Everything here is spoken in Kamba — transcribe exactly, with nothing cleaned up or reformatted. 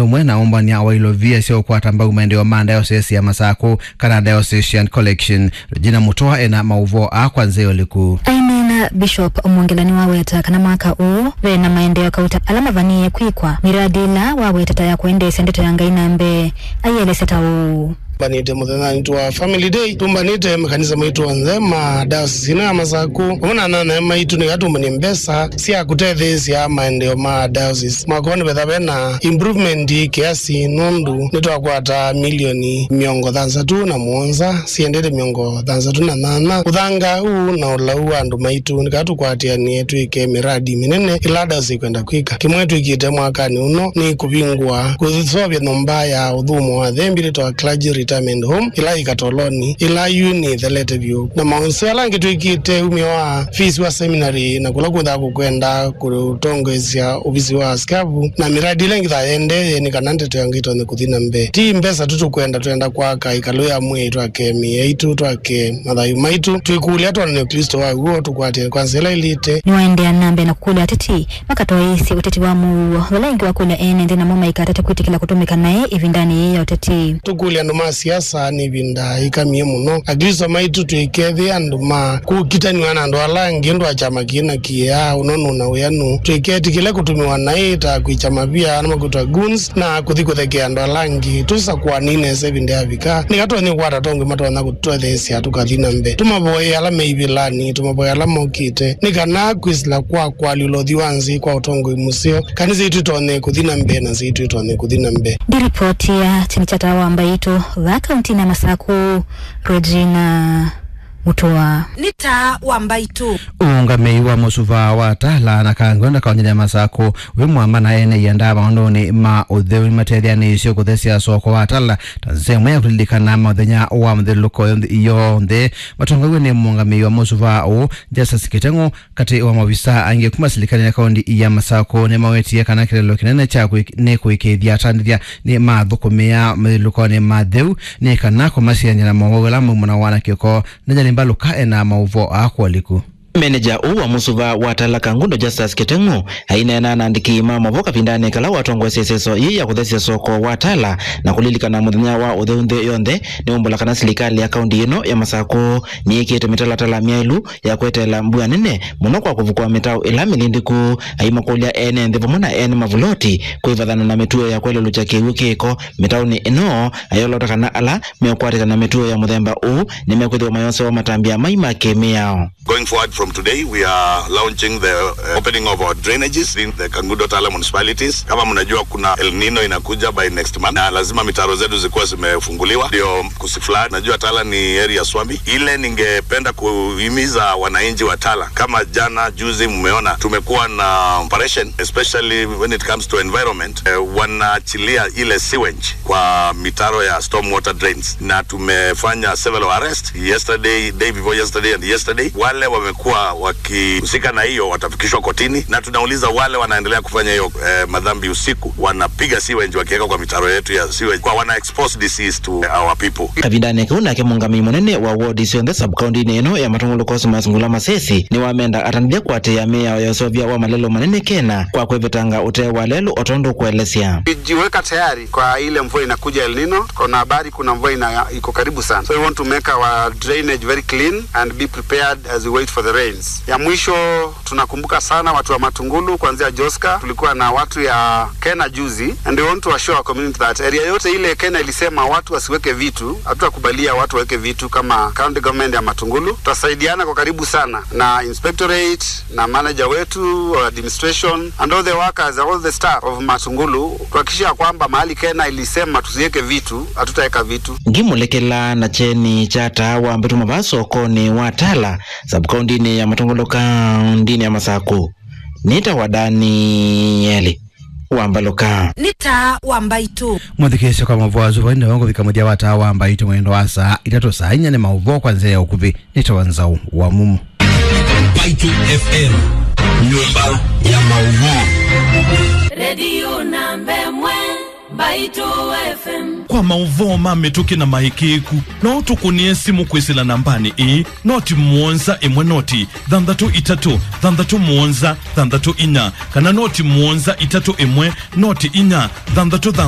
Mwe na ũmbany'a wa ilovia sya ũkwata mbau maendeeo ma diocese ya Masakũ kana Diocesan Collection. Regina Mutua ena maũvoo aa kwa nzĩa ũliku. Aineena Bishop Mwongela nĩwaweta kana mwaka ũũ ve na maendeeo kauta ala mavanie kwĩkwa, miradi ĩla wawetete ya kũendeesya ndeto ya Ngai na mbee. Aielesya ta ũũ. Tũmbanĩte mũthenyanĩ wa Family Day, tũmbanĩte makanisa maitũ onthe ma diocese ĩno ya Masakũ, vamwe na anyanyae maitũ, nĩgetha tũmbany'e mbesa sya kũtetheesya maendeeo ma diocese. Mwaka ũũ nĩvetha ve na improvement kiasi, nũndũ nĩtwakwata milioni mĩongo thanthatũ na mũonza siendete mĩongo thanthatũ na nyanya. Ũthanga ũũ na ũlau wa andũ maitũ, nĩkatũ kwatĩanĩe twĩke miradi mĩnene ĩla diocese ĩkwenda kwĩka. Kĩmwe twĩkĩte mwakanĩ ũno nĩ kũvingũa kũseũvya nyũmba ya ũthũmũo wa athembi yĩtawa Clergy Retirement Home, ĩla yĩ Katoloni, ĩla yu nĩthelete vyũ. Na maũseo ala angĩ twĩkĩte umĩo wa fees wa seminary na kũla kwĩthaa kũkwenda kũtongoesya ovisi wa askavu, na miradi ĩla ĩngĩ ta yendee nĩ kana ndeto ya Ngai ĩtonye kũthi na mbee. Ti mbesa tu tũkwenda, twenda kwaka ĩkalũ ya mwĩĩ, twake mĩĩ yaitũ, twake mathayũ maitũ, twĩkũlya twonane Ũklĩsto wa w'o, tũkwatĩane kwa nzĩa ĩla ĩlĩte. Nĩwaendeea na mbee na kũkũlya ateti makatwaĩĩsye ũteti wa mũuo, vala ĩngĩ wakũlya ene nthĩ namo maikatate kwĩtĩkĩla kũtũmĩka naĩ ĩvindanĩ yĩĩ ya ũteti. Tũkũlya andũ ma siasa nĩ ĩvinda yĩkamie mũno. Aklĩsto maitũ tũikethĩa andũ ma kũkitanĩwa na andũ ala angĩ, ũndũ wa kyama kĩĩ na kĩĩ, ũnũnũ na wĩanũ. Tũiketĩkĩle kũtũmĩwa naĩ ta kwĩkya mavia, na makwĩtwa goons, na kũthi kũthekea andũ ala angĩ. Tũsakũanei nesa ĩvinda yavika, nĩkatũtonye kũkwata atongoi matonya kũtũtetheesya tũkathi na mbee. Tũmavoye ala me ivĩlanĩ, tũmavoye ala mokĩte, nĩ kana kwĩsĩla kwa kũalyũla ũthwii wa nzĩ kwa ũtongoi mũseo, kanisa itũ ĩtonye kũthi na mbee na nzĩ itũ ĩtonye kũthi na mbee. Ndiripotia kyeni kya Taa wa Mbaitũ vaa kauntinĩ ya Masakũ, Regina Mutua. Nĩ Taa wa Mbaitũ. Ũũngamĩi wa mũsuvaa wa Tala na Kangwenda kauntinĩ ya Masakũ wĩ mwamba na ene ianda maũndũnĩ ma ũtheu nĩmatetheanĩisye kũthesya soko wa Tala ta nzĩa ĩmwe ya kũlilikana mũthenya wa mũthyũlũlũko yonthe. Matongoew'e nĩ mũũngamĩi wa mũsuvaa ũũ, Justus Kĩteng'ũ, katĩ wa maovisaa angĩ kuma silikalĩ ya kaunti ya Masakũ nĩmawetie kana kĩlelo kĩnene kya kũĩk-, nĩ kũĩkĩĩthya atandĩthya nĩmathũkũmĩa mathyũlũlũkonĩ ma theu nĩ kana kũmasiany'a na mowau ala maumanawa na kĩko. Daniel Mbalũka ena maũvoo aa kwa ũliku. Menenja ũũ wa mũsuvaa wa Tala Kangundo Justus Kĩteng'ũ aineena na andĩki ma maũvoo kavindanĩ kala watongoesye ĩseso yĩĩ ya kũthesya soko wa Tala na kũlilikana mũthenya wa ũtheu nthĩ yonthe, nĩwaumbũla kana silikalĩ ya kaunti ĩno ya Masakũ nĩyĩkĩte mĩtalatala myaĩlu ya kweteela mbua nene mũno kwa kũvukũa mĩtaũ ĩla mĩlindĩku. Aimakũlya ene nthĩ vamwe na ene mavuloti kwĩvathana na mĩtuo ya kwelelũkya kĩw'ũ kĩko mĩtaũnĩ ĩno, ayolota kana ala meũkwatĩkana na mĩtuo ya mũthemba ũũ nĩmekwĩthĩwa mayosewa matambya mai ma kĩmĩao. Going forward from today, we are launching the, uh, opening of our drainages in the Kangundo Tala municipalities. Kama mnajua, kuna El Nino inakuja by next month, na lazima mitaro zetu zikuwa zimefunguliwa ndio kusiflood. Najua Tala ni area swampy. Ile ningependa kuhimiza wananchi wa Tala, kama jana juzi mmeona, tumekuwa na operation, especially when it comes to environment, eh, wanaachilia ile sewage kwa mitaro ya storm water drains, na tumefanya several arrests yesterday, day before yesterday and yesterday. Wale wamekuwa wakihusika na hiyo watafikishwa kotini, na tunauliza wale wanaendelea kufanya hiyo, eh, madhambi usiku, wanapiga sewage wakiweka kwa mitaro yetu ya sewage, kwa wana expose disease to our people. Kavindanĩ kau nake mũũngamĩi mũnene wa wodi syonthe sub-kauntinĩ ĩno ya Matũngũlũ Cosmas Ngula Masesi nĩwamenda atandĩthya kũatĩĩa mĩao ya ũseũvya wa malelũ manene kena kwa kwĩvetanga ũtee wa lelũ o tondũ ũkũelesya. Tumejiweka tayari kwa ile mvua inakuja El Nino. Tuko na habari kuna mvua ina-, iko karibu sana. So we want to make our drainage very clean and be prepared as we wait for the rains. Ya mwisho, tunakumbuka sana watu wa Matungulu kuanzia Joska. Tulikuwa na watu ya Kena juzi, and we want to assure our community that area yote ile Kena ilisema watu wasiweke vitu, hatutakubalia watu waweke vitu kama county government ya Matungulu. Tutasaidiana kwa karibu sana na inspectorate, na manager wetu, administration, and all the workers, all the staff of Matungulu, kuhakikisha kwamba mahali Kena ilisema tusiweke vitu, hatutaweka vitu. Ngimũlekela na kyeni kya Taa wa Mbaitũ vaa sokonĩ wa Tala, sub-kauntinĩ ya Matũngũlũ, kauntinĩ ya Masakũ. Nĩtawa Danieli Wambalũka. Nĩ Taa wa Mbaitũ. Mũthikĩĩsya kwa maũvoo asu, vainda wa kũvika mũthya wa Taa wa Mbaitũ mwendo wa saa itatũ, saa inya nĩ maũvoo kwa nzĩa ya ũkuvĩ. Nĩtawa Nzau wa Mumu. Mbaitũ F M, nyũmba ya maũvoo. Redio namba ĩmwe, Mbaitũ F M. Kwa maũvoo ma mĩtũkĩ na maĩkĩĩku, no ũtũkũnĩe simũ kwĩsĩla nambanĩ ĩĩ, noti mũonza ĩmwe noti thanthatũ itatũ thanthatũ mũonza thanthatũ inya, kana noti mũonza itatũ ĩmwe noti inya thanthatũ thanthatũ.